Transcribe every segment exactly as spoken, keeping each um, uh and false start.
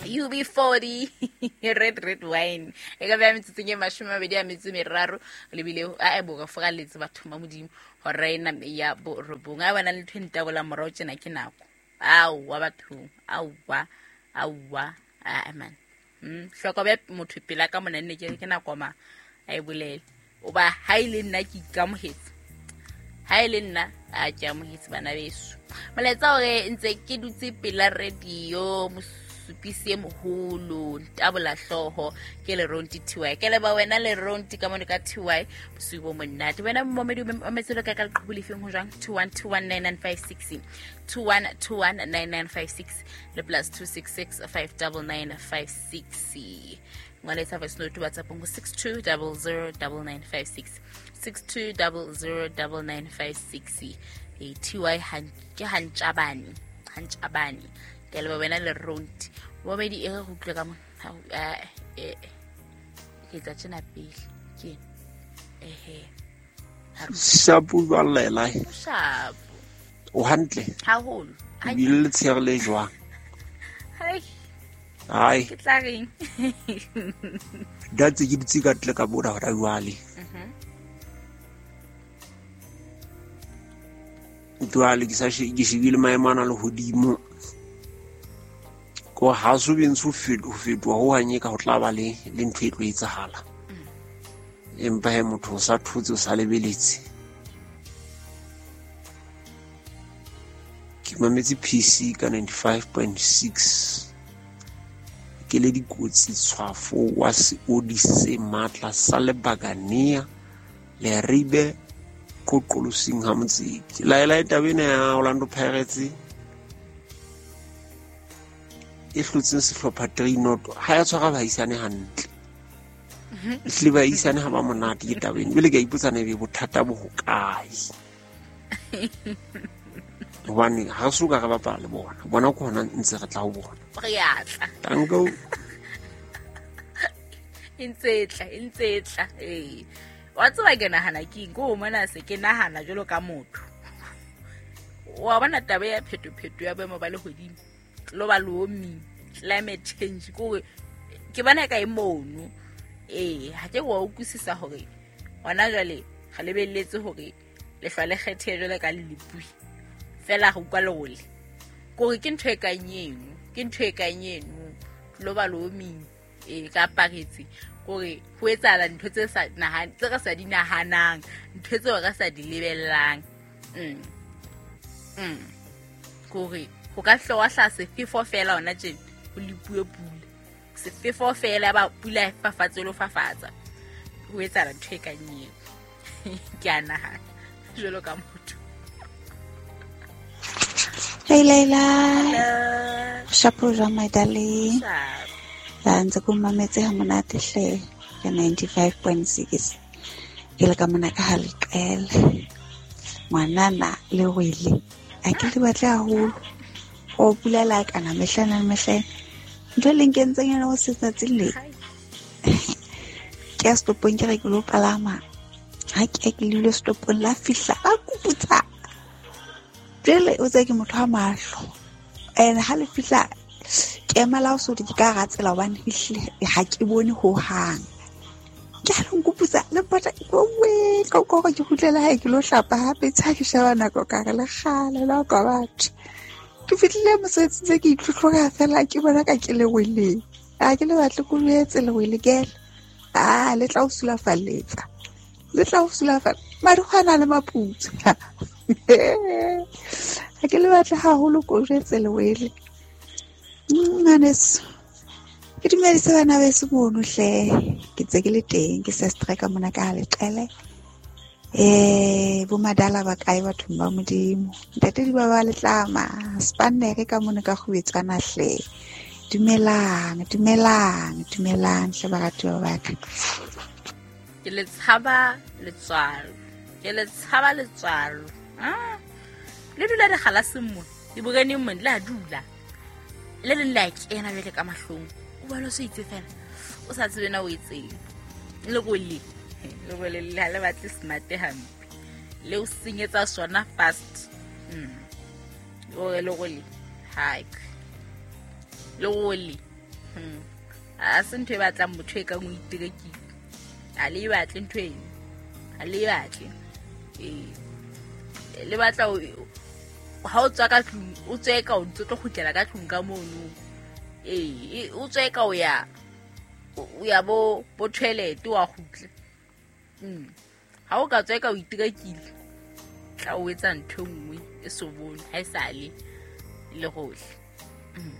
U B forty red red wine e ka ba metsotsong e mashome a mabedi a metso e meraro le bile a e boga foraletse batho ba modimo hore ena ya borobong a bana le ntho e ntabola morao tjena ke nako aowa bathong aowa aowa a man mm hloko be motho pela ka mona nne ke ke nako ma a e bolele o ba ha ile nna ke ikamohetse ha ile nna a ke amohetse bana beso molaetsa hore ntse ke dutse pela radio mosupisi e moholo ntabola hlooho ke le Ronti T Y ke le ba wena le Ronti ka mone ka T Y bosiu bo monate wena momedi o metselo ka ka leqhubu lefeng ho jwang two one two one nine nine five six two one two one nine nine five six le plus two six six five nine nine five six ngwaletsa voice note WhatsApp ngo six two zero zero nine nine five six six two zero zero nine nine five six e T Y han ke hantjabane hantjabane ke le wena le Ronti momedi e re go utlwe ka mo eh ke tla tjena pele ke ehe shapo ba lela shapo o hantle haholo ha le tshere le jwang hai hai ke tla reng datse ke dutse ka tle ka bona hora jwale mhm jwale ke sa ke shebile maemo ana le hodimo ko ha so bentse ho fetoha ho hanye ka ho tla ba le le ntho e tlo etsahala empa he motho o sa thotse o sa lebeletse ke mametse P C ka ninety-five point six ke le dikotsi tshwafo wa seodi se matla sa lebakanea le ribe qoqolosing ha motseki laela taba ena ya Orlando Pirates e hlotseng sehlopha three not ha ya tshwara baisane hantle ehlile baisane ha ba monate ke taba ena ebile ke a ipotsa na ebe bothata bo hokae hobane ha re so ka re bapala le bona bona ke hona ntse re tla ho bona re a tla tanko e ntse e tla e ntse e tla ee wa tseba ke nahana ke eng ko mona se ke nahana jwalo ka motho wa bona taba ya phetopheto ya boemo ba lehodimo global warming climate change ko ke bona ka e mono eh ha ke wa utlwisisa hore hona jwale re lebelletse hore lehlwa le kgethe jwale ka lelepui fela go kwa lole kore ke ntho e kang eno ke ntho e kang eno global warming e ka aparetse kore ho etsahala ntho tse sa nahan tse re sa di nahanang ntho tseo re sa di lebellang mm mm kore ho ka hlowa hla sefefo fela hona tjena ho lepuwe pula sefefo fela ba pula e fafatse lo fafatsa ho etsahala ntho e kang eo ke a nahana jwalo ka motho. Hey Leila. Shapo jwang my darling. La ntse ko mametse ha monate hle ka ninety-five point six. Ke le ka mona ka ha leqele. Ngwanana le wele. A ke le batle haholo. O pula la kana mehlana le mehlana. Ntho le nkentseng yona ho setsatsi le. Ke a stopong ke re ke lo palama. Ha ke ke le stopong la fihla a kuputsa. Jwale o tsaya ke motho wa mahlo and ha le fihla ke emela ho so di ka hara tsela hobane ha ke bone ho hang ke ha le nkuputsa le pota we ka ko ke kgutlela hae ke lo hlapa hape tsha ke sheba nako ka re le kgale la ka batho ke fihlile mosebetsi tse ke itlhotlhoka fela ke bona ka ke le weleng a ke le batle ko lwetse le wele kele a le tla o sulafalletsa le tla o sulafalla madikgwana le maputso ha ke le batle haholo ko jwetse le wele ngwaneso ke dumedise bana beso mono hle ke tse ke le teng ke se strike mona ka leqele eh bo madala ba kae bathong ba modimo ntate di ba ba letlama spannere ka mona ka kgubetsana hle dumelang dumelang dumelang hle baratuwa ba ka ke le tshaba letswalo ke le tshaba letswalo ah le dula re galaseng mo di boreneng mo le a dula le leng la kena jwale ka mahlong o bona o se itse fela o sa tsebe na o etseng le go le le go le le le batle smart hampe le o senyetsa sona fast mm o le go le hike le go le Hmm. A se ntho e batlang motho e kang o iterekile. A le e batle ntho eno. A le e batle. Ee. Le batla ha o tswa ka tlung, o tswe ka o ntse tlo kgutlela ka tlung ka mono. Ee, o tswe ka o ya o ya bo bo toilet wa kgutla. Mm. Ha o ka tswe ka o iterekile, tla o etsa ntho e nngwe e so bone ha e sale le gohle. Mm.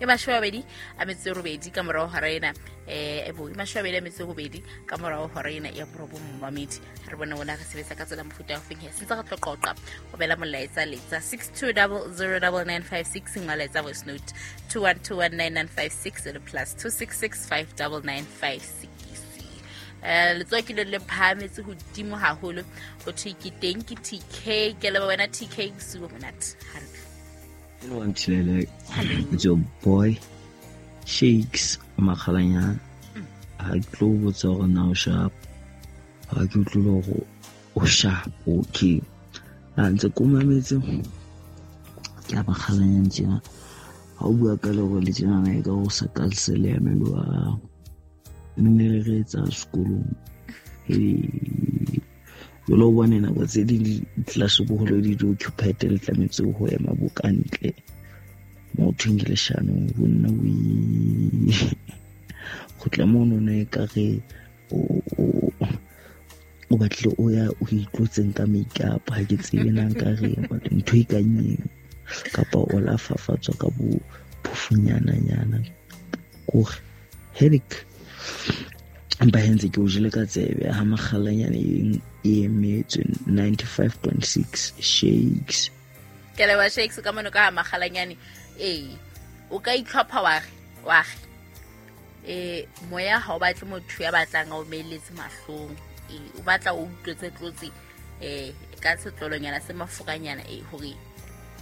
E mashome a mabedi a metso e robedi ka morao hora ena, eh e bo e mashome a mabedi a metso e robedi ka morao hora ena ya borobong momamedi. Re bone ona re sebetsa ka tsela mofuta wa feng he sentse re tlo qoqa o bela molaetsa letsa six two zero zero nine nine five six molaetsa voice note two one two one nine nine five six le plus two six six five nine nine five six. Eh letsoho ke le le phahametse hodimo haholo ho thwe ke teng ke T K ke leba wena T K bosiu bo monate hantle. Hello, I'm Chilele. It's your boy Shakes Makgalanyana. Ha ke tlo botsa hore na o sharp. Ha ke utlwile hore o sharp, okay. Ha ntse ko mametse ke a Makgalanyana tjena. Ha o bua ka lero le tjena e ka o sa ka se le emelo wa nne re etsa sekolong. Eh jalo o bone nako tse ding di-class boholo di di-occupied le tlametse ho ema bo ka ntle mo thweng ke leshano bo nna o kgutla mono ne ekare o batlile o ya o itlotseng ka make-up ha ke tsebe na nka reng but ntho e kang eo kapa o la fafatswa ka bo phofunyana-nyana kore headache. Empa hentse ke o jele ka tsebe ha Makgalanyane e emetswe ninety-five point six Shakes. Ke leboha Shakes ka mono ka ha Makgalanyane. Ee, o ka itlhopha wa re wa re eh moya ha o batle motho ya batlang a o meletse mahlong. Ee, o batla o utlwetse tlotse eh ka setlolonyana se mafuranyana ee hore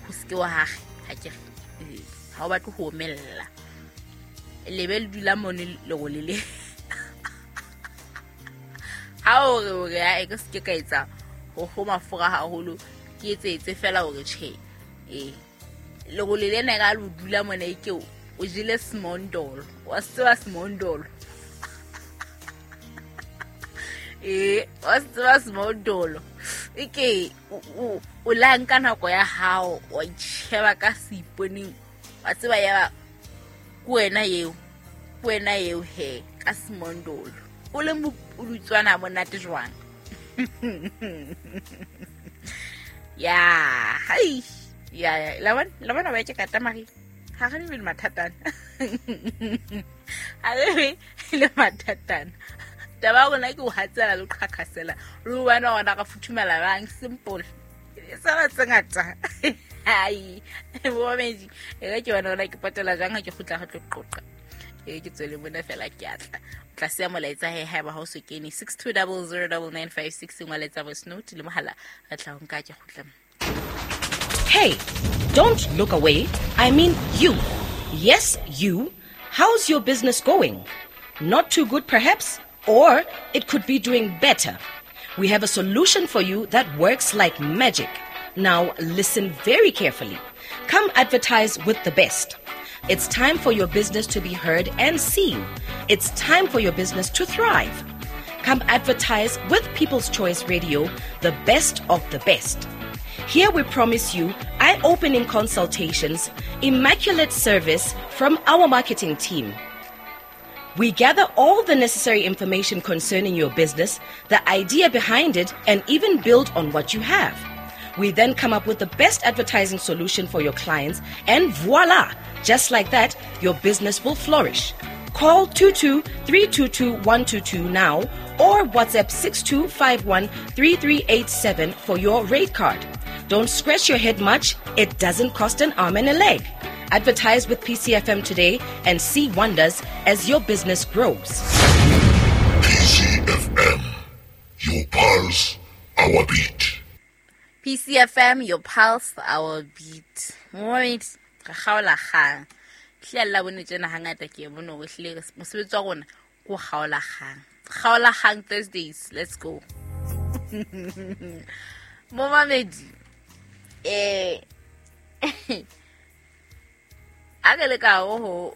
ho seke wa hage ha ke re ha o batle ho omella. Lebe le dula mone lerole le. Ha o re o re a e ke se ka etsa ho ho mafura haholo ke etsetse fela hore tjhe. Eh lerole lena ka lo dula mona e ke o jele smondolo wa tseba smondolo. Eh wa tseba smondolo e ke o o la nka nako ya hao wa itsheba ka seiponeng wa tseba ya ke wena eo ke wena eo he ka smondolo o le mopudutswana monate jwang. Ya hai ya ya la bona la bona ba ke kata mari ha re be le mathatana ha re be le mathatana taba rona ke ho hatsela le qhaqhasela re bona ona ka futhumela bang simple sa ba tse ngata hai bo meji e re ke bona ona ke patela jang ha ke kgutla re tlo qoqa e ke tswele mona fela ke atla tlase ya molaetsa he haeba ha o so kene six two zero zero nine nine five six ngwaletsa voice note le mohala re tla ho nka ke kgutla. Hey, don't look away. I mean you. Yes, you. How's your business going? Not too good perhaps, or it could be doing better. We have a solution for you that works like magic. Now listen very carefully. Come advertise with the best. It's time for your business to be heard and seen. It's time for your business to thrive. Come advertise with People's Choice Radio, the best of the best. Here we promise you eye-opening consultations, immaculate service from our marketing team. We gather all the necessary information concerning your business, the idea behind it, and even build on what you have. We then come up with the best advertising solution for your clients, and voila! Just like that, your business will flourish. Call two two three two two one two two now or WhatsApp six two five one three three eight seven for your rate card. Don't scratch your head much. It doesn't cost an arm and a leg. Advertise with P C F M today and see wonders as your business grows. P C F M, your pulse, our beat. P C F M, your pulse, our beat. Wait, re kgaola kgang. Hle la bone tjena hangata ke bone hore hle mosebetsi wa rona ko kgaola kgang. Kgaola kgang Thursdays, let's go. Momamedi, eh a re le ka ho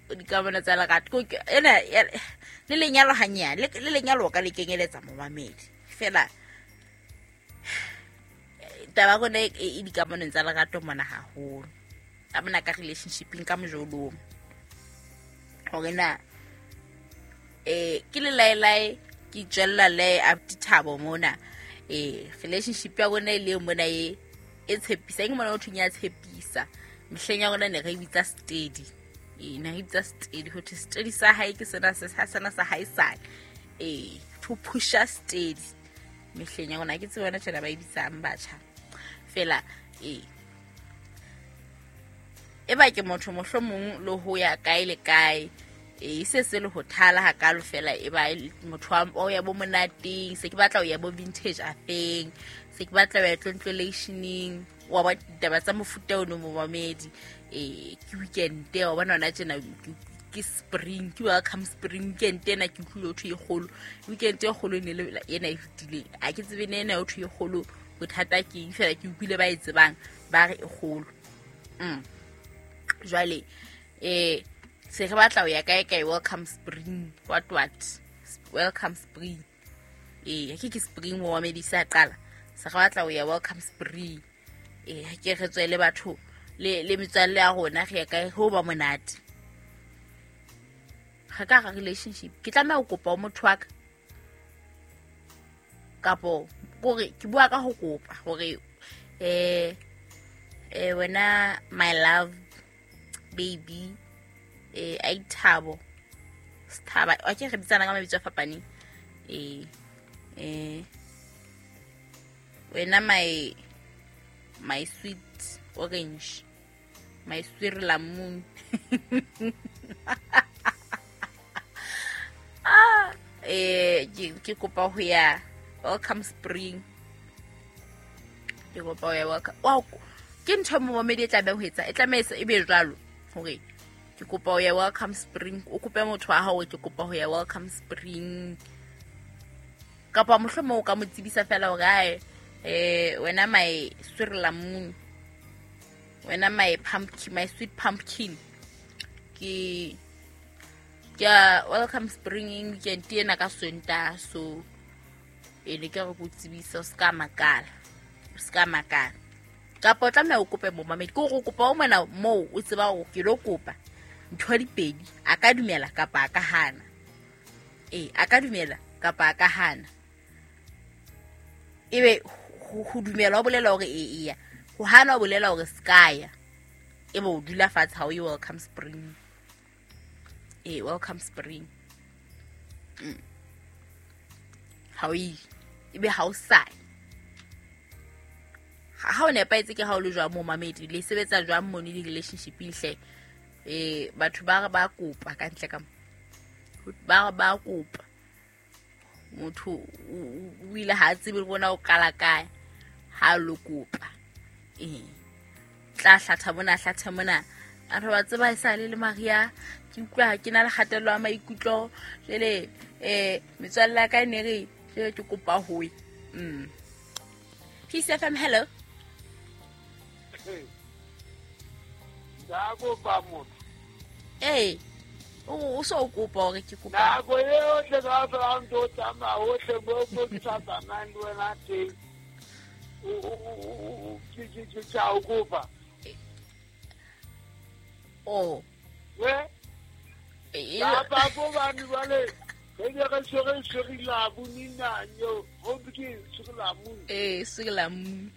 Dikamano tsa lerato ena le lenyalo hanyane le lenyalo ka le kenyeletsa momamedi fela taba rona e dikamanong tsa lerato mona haholo a bona ka relationshipeng ka mojolong hore na eh ke le laelae ke tswella le Thabo mona eh relationship ya rona e le mona e e tshepisa eng mona o thunya tshepisa mehleng ya rona ne re bitsa steady e na bitsa steady ho thwe steady sa hae ke sena se sena sa hae sa eh to pusha steady mehleng ya rona ke tsebona tjena ba e bitsang batjha fela eh e ba ke motho mohlomong le ho ya kae le kae e se se le ho thala hakalo fela e ba motho wa ya bo monateng se ke batla ho ya bo vintage afeng se ke batla ho ya tlontlolationeng wa ba ditaba tsa mofuta ono momamedi eh ke weekend wa bona ona tjena ke spring ke welcome spring weekend ena ke utlwile ho thwe e kgolo weekend e kgolo ne le ena e fetileng a ke tsebe ne ena ho thwe e kgolo bothata ke eng fela ke utlwile ba e tsebang ba re e kgolo mm jwale eh se re batla ho ya kae kae welcome spring what what welcome spring eh ke ke spring mo wa medisa qala se re batla ho ya welcome spring eh ke re tswele batho le le metswalle ya rona re ya kae ho ba monate ga ka ga relationship ke tlameha ho kopa motho wa ka kapo kore ke bua ka ho kopa hore eh eh wena my love baby eh ai Thabo Sthaba a ke re bitsana ka mabitso a fapaneng eh eh wena my my sweet orange my sweet lemon ah eh ke kopa ho ya welcome spring ke kopa ho ya welcome wow ke ntho mo momedi e tlabe ho etsa e tlameha e be jwalo hore ke kopa ho ya welcome spring o kope motho wa hao ke kopa ho ya welcome spring kapa mohlomong o ka mo tsebisa fela hore ae eh wena my sweet lemon wena my pumpkin my sweet pumpkin ke ke welcome spring weekend ena ka Sontaha so e ne ke re go tsebisa o ska makala o ska makala kapa o tlameha o kope momamedi ke hore o kopa o mona moo o tseba hore ke lo kopa ntho di pedi a ka dumela kapa a ka hana eh a ka dumela kapa a ka hana ebe ho dumela o bolela hore e eya ho hana o bolela hore skaya ebe o dula fatshe ha o ye welcome spring eh welcome spring mm. Ha o ye ebe ha o sa ha o nepaetse ke ha o le jwang momamedi le sebetsa jwang mo di relationship hle eh batho ba ba kopa ka ntle ka ba ba kopa motho o ile ha tsebe le bona o qala kae ha lo kopa eh tla hlatha bona hlatha mona a re wa tseba e sa le le Maria ke utlwa ke na le kgatello ya maikutlo jele eh metswalle ya ka e ne re jele ke kopa ho mm Peace F M hello Nda kopa motho eh o so kopa hore ke kopa nako eo tle ka fela ntho tsamaya hohle mo mo ke sa tsamayang le wena teng o ke ke ke tsa o kopa oh we kapa ko bane jwale re ne re tshwere sirilamuni nanyo ho ke sirilamuni eh sirilamuni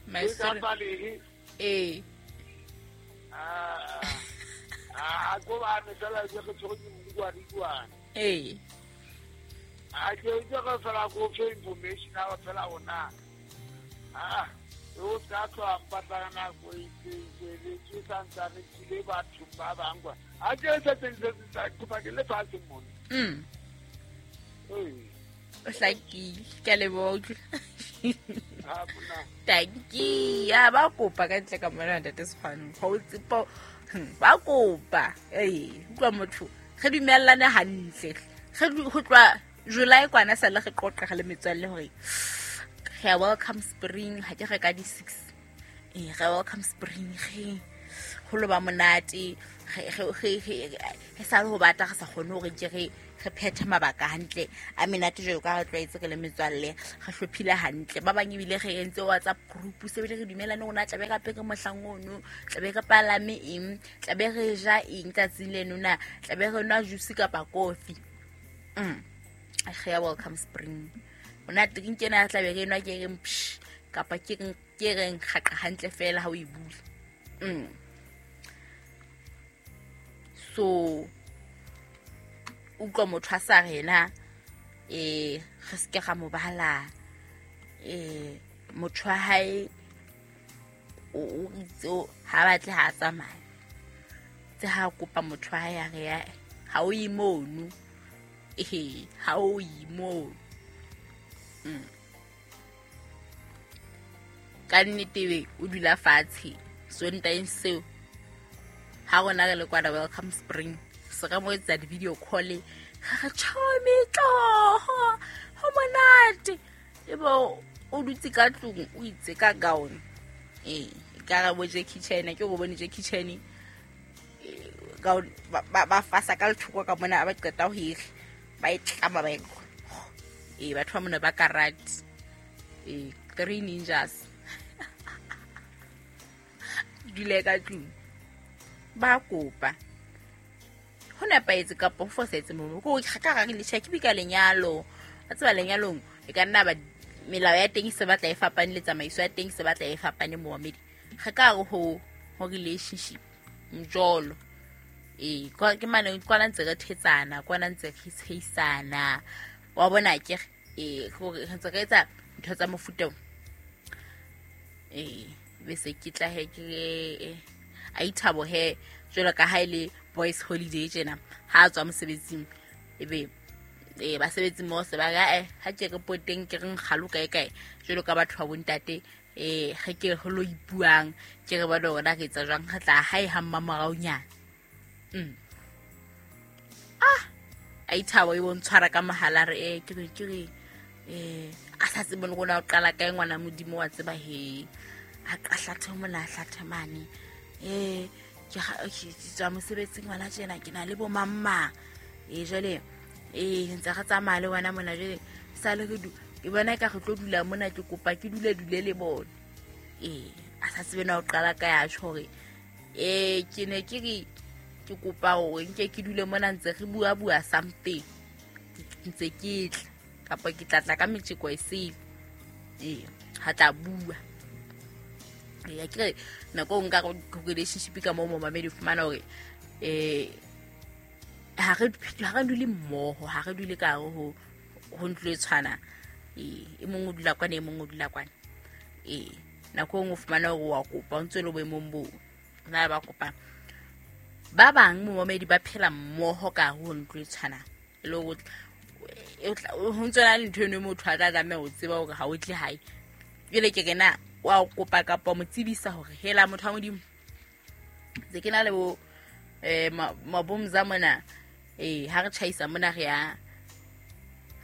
my siri eh ah ah ko bane fela ke re tshwere ke mokwadikwane eh a ke ke re fela go fe information a fela ona ah o tla tloha mpatlana nako e itseng ke santsane ke le batho ba bang kwa a ke se tse tsa kopa ke le fatshe mona mm o hlakile ke a leboha thank you ya ba kopa ka ntle ka mona ntate Sekgwane ga o tsepa ba kopa ee utlwa motho re dumellane hantle re ho tloha July kwana sa le re qoqa le metswalle hore re welcome spring ha ke re ka di six eh re welcome spring re ho lo ba monate re re sa le ho bata re sa kgone hore ke re re phethe mabaka hantle a menate jwalo ka re tlwaetse re le metswalle re hlophile hantle ba bang ebile re entse WhatsApp group se bile re dumelane rona tlabe re apere mohlang ono tlabe re palame eng tlabe re ja eng tsatsing leno na tlabe re nwa juice kapa coffee. Mm a welcome spring ona drink ena tlabe re nwa ke reng psh kapa ke reng ke reng kgaqa hantle fela ha o e bula. Mm so utlwa motho a sa rena eh re se ke ga mo bala eh motho wa hae o itse ha batle ha tsamaya tse ha kopa motho wa hae a re ha o imono eh ha o imono. Mm ka nnete o dula fatshe Sontaeng seo ha rona re le kwana welcome spring se re mo etsa di-video call ga re tjhomi tloho ho monate ebo o dutse ka tlung o itse ka gown eh ka re bo Jackie Chan ke go bone Jackie Chan gown ba ba fasa ka lethoko ka mona ba qeta ho e ba e tlama ba e eh batho ba mona ba karate eh three ninjas dule ka tlung ba kopa ho nepahetse kapa ho fosahetse mo ko ka ga le check bi ka lenyalo a tseba lenyalong e ka nna ba melao ya teng se batla e fapane le tsamaiso ya teng se batla e fapane mo mamedi ga ka re ho ho relationship mjolo eh ke mane kwana ntse re thetsana kwana ntse re tsheisana wa bona ke eh gore re ntse re etsa ntho tsa mofuta eh bese ke tla he ke a ithabo he jwalo ka ha ile boys holiday tjena ha tswa mosebetsing ebe eh basebetsi mo se ba ga eh ha ke re poteng ke reng galo kae kae jwalo ka batho ba bontate eh ge ke go lo ipuang ke re ba lona re etsa jwang re tla hae ha mmamoraonyana. Mm ah a ithabo e bontshwara ka mahala re eh ke re ke re eh a sa tsebe le rona o qala kae ngwana modimo wa tseba he a qahlathe mona hlathe mane eh ke ke tswa mosebetsing ngwana tjena ke na le bo mamma eh jwale eh ntse re tsamaya le wena mona jwale sa le re du ke bona ka re tlo dula mona ke kopa ke dule dule le bona eh a sa tsebe na o qala ka ya tjho hore eh ke ne ke re ke kopa hore nke ke dule mona ntse re bua bua something ntse ke tla kapa ke tla tla ka metjeko e sele eh ha tla bua ya ke nako nka go relationship ka mo mo mamedi fumana hore eh ha re ha re dule mmoho ha re dule ka ho ho ntlo e tshwana eh e mong o dula kwana e mong o dula kwana eh nako nngwe fumana hore wa kopa o ntse le boemong bo na ba kopa ba bang mo mamedi ba phela mmoho ka ho ntlo e tshwana le ho ho ntse na le ntho eno motho a tla tlameha ho tseba hore ha o tle hae jwale ke rena wa kopa kapa mo tsebisa hore hela motho wa modimo tse ke na le bo eh mabomza mona eh ha re tjhaisa mona re ya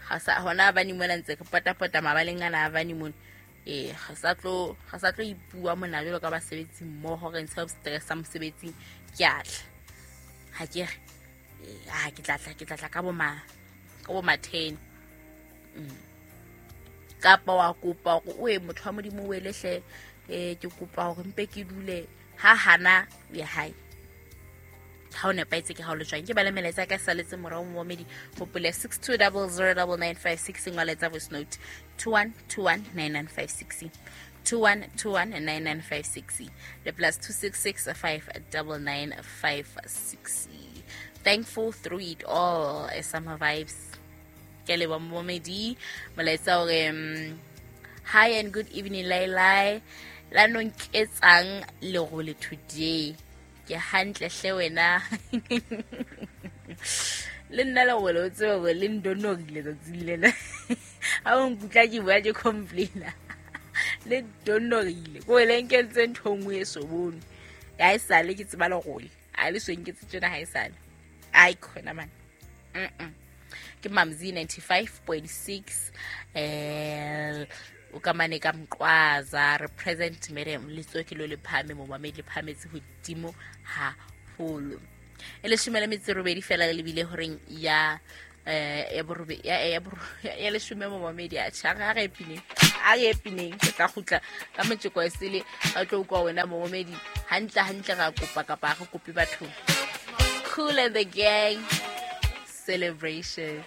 ha sa hona ba ni mona ntse ke patapata mabaleng ana ba ni mona eh ha sa tlo ha sa tlo ipua mona jwalo ka basebetsi mmoho re ntsha stress sa mosebetsing ke atla ha ke re ah ke tla tla ke tla tla ka bo ma ka bo ma ten kapa wa kopa hore o e motho wa modimo o elehle eh ke kopa hore mpe ke dule ha hana ya hae ha o nepahetse ke ha o le jwang ke ba le melaetsa ka saletse morao momedi hopole six two zero zero nine nine five six ngwaletsa voice note two one two one nine nine five six two one two one nine nine five six le plus two six six five nine nine five six. Thankful through it all summer vibes ke le ba momedi molaetsa hore hi and good evening Lailai la nonketsang lerole today ke hantle hle wena le nna le wele o tsebe hore le ndonorile tsatsing lena ha o nkutla ke bua ke complaina le ndonorile ko le nkentse ntho nngwe e so bone ha e sale ke tseba lerole ha le so nketse tjena ha e sale ai khona man mm ke Mamzi ninety-five point six eh o ka mane ka Mqwaza represent madam letso ke lo le phame mo mamedi le phametse hodimo haholo. E leshome le metso e robedi fela le lebile horeng ya eh ya borobe ya ya ya leshome momamedi a tjha ga re epineng a re epineng ke tla kgutla ka metjeko e sele a tlo utlwa wena momamedi hantle hantle ra kopa kapa re kope batho. Kool and the Gang, Celebration.